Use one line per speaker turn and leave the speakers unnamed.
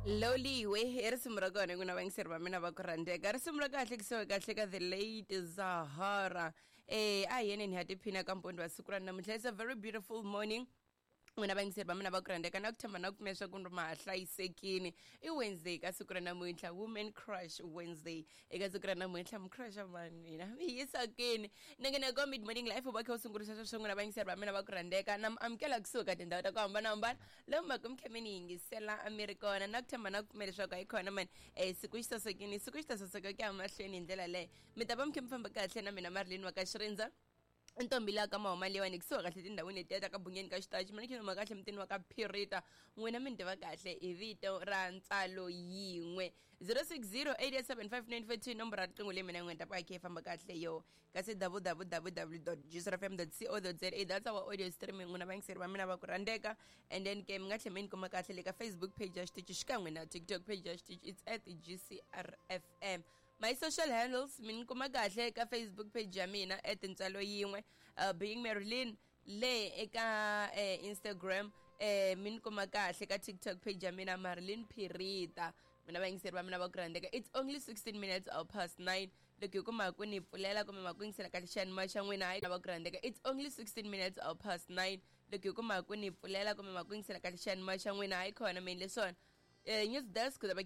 Loliwe i risimu ra kona n'wina vayingiseri va mina va ku rhandzeka. Risimu ra kahle kusuhi kahle ka The Late Zahara. A hi yeneni ha tiphina ka mpondo wa siku ra namuntlha. It's a very beautiful morning. N'wina vayingiseri va mina va ku rhandzeka, na ku tshemba na ku pfumela swa ku ri ma ha hlayisekini. I Wednesday ka siku ra namuntlha, Women Crush Wednesday. Eka siku ra namuntlha mi crusha mani mina mi yisa kwini? Ni nge ka Mid Morning Life va kha u sungurisa sweswo n'wina vayingiseri va mina va ku rhandzeka. Na mi amukela kusuhi ka tindhawu ta ku hambanahambana lomu mhaka mi kha mi ni yingisela a mi ri kona, na ku tshemba na ku pfumela leswaku a yi kona mani. Siku xi sasekini, siku xi ta saseka ku ya mahlweni hi ndlela leyo. Mi ta va mi kha mi famba kahle na mina Marilyn wa ka Xirindza, ntombi laha ka mahoma leyiwani, kusuhi kahle tindhawini letiya ta ka Bunyeni ka Xitachi. Mina khe kahle mutini wa ka Phirita. N'wina mi ni tiva kahle hi vito ra Ntsalo Yin'we. 0608875942 nomboro ya riqingho leyi mina n'wina ta va khe yi famba kahle yo. Kasi www.gcrfm.co.za, that's our audio streaming n'wina vayingiseri va mina va ku rhandzeka. And then ke mi nga tlhela mi ni kuma kahle le ka Facebook page ya xitichi xikan'we na TikTok page ya xitichi, it's at GCRFM. My social handles, mi ni kuma kahle ka Facebook page ya mina at Ntsalo Yin'we, Being Marilyn le eka Instagram, mi ni kuma kahle ka TikTok page ya mina Marilyn Phirita. Mina vayingiseri va mina va ku rhandzeka, it's only 16 minutes or past 9. Loko hi kuma ku ni pfulela kumbe ma ku yingisela kahle xiyanimoya xa n'wina, hayi va ku rhandzeka, it's only 16 minutes or past 9. Loko hi kuma ku ni pfulela kumbe ma ku yingisela kahle xiyanimoya xa n'wina, hayi khona mi endle swona. News desk.